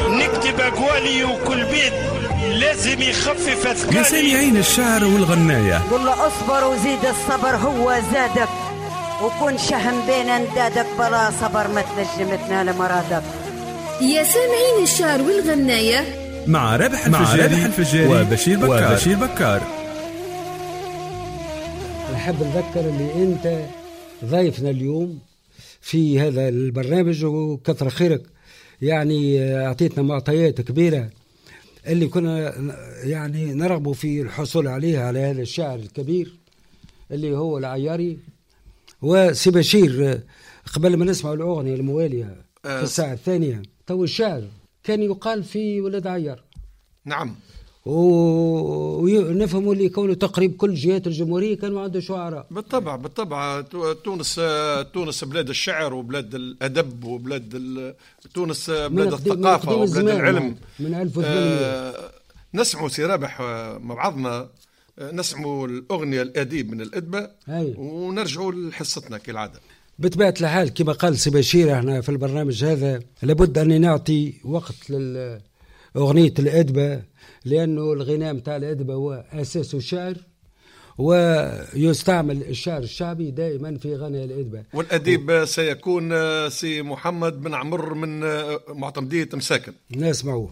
نكتب أقوالي وكل بيت لازم يخفف أثقالي. يا سامعين الشعر والغناية، قل له اصبر وزيد الصبر هو زادك، وكن شهم بين اندادك، بلا صبر ما تنجم تنال مرادك. يا سامعين الشعر والغناية مع رابح الفجاري وبشير بكار. نحب نذكر اللي انت ضيفنا اليوم في هذا البرنامج، وكثر خيرك، يعني اعطيتنا معطيات كبيرة اللي كنا يعني نرغب في الحصول عليها على هذا الشاعر الكبير اللي هو العياري. وسي بشير، قبل ما نسمع الأغنية الموالية في الساعة الثانية، تو الشعر كان يقال في ولاد عيار. نعم. ونفهموا اللي كونه تقريب كل جهات الجمهورية كانوا عنده شعراء. بالطبع بالطبع، تونس بلاد الشعر وبلاد الأدب وبلاد تونس بلاد الثقافة وبلاد العلم من 1800. نسمعوا سي رابح مع بعضنا، نسمعوا الأغنية الأديب من الأدبة ونرجعوا لحصتنا كالعادة. بطبيعة الحال كما قال سي بشير، احنا في البرنامج هذا لابد أن نعطي وقت لأغنية الأدبة، لأنه الغناء متاع الأدبة هو أساس الشعر، ويستعمل الشعر الشعبي دائما في غناء الأدبة. والأديب سيكون سي محمد بن عمر من معتمدية مساكن. نسمعوه.